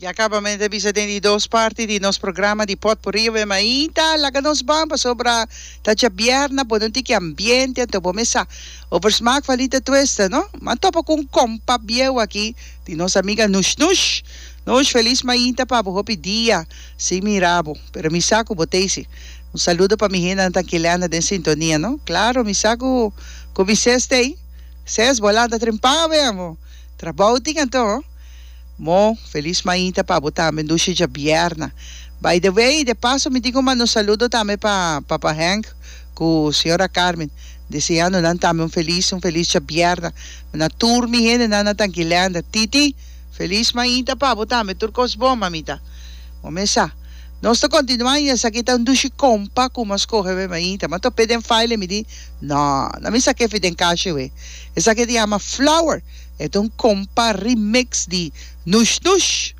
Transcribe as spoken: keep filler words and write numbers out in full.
Ya caba mi ta bisa den di dos parti di nos programa di Potpourri awe mainta. Laga nos ban pasobra ta djabièrnè, pone un tiki ambiente anto bo mesa over smaak van Lita Twista, no? M'a topa ku un kompa bieu aki di nos amiga Nush Nush. Nush, felis mainta pa bo, hopi dia sin mira bo, pero mi sa ku bo t'ei si. Un saludo pa mi hendenan ta Kilena den sintonia, no? Claro, mi sa ku ku mi ses t'ei. Ses, bo a lanta trempan awe, amo. Trabou tin anto. Mo, felis mainta pa bo tambe, dushi djabièrnè. By the way, de paso mi tin ku manda un saludo tambe pa Papa Henk ku señora Carmen, deseando nan tambe un felis un felis djabièrnè. Na tur mi hendenan na Tankilènder. Titi, felis mainta pa bo tambe, tur kos bon, mamita. Bo mes sa. Nos ta kontinuá i esaki ta un dushi kompa ku mi a skohe awe mainta. Mi a top'é den file i mi di, No, no mi sak'é fi den kashi awe. Esaki ta yama Flower. E ta un kompa remix di Nush Nush.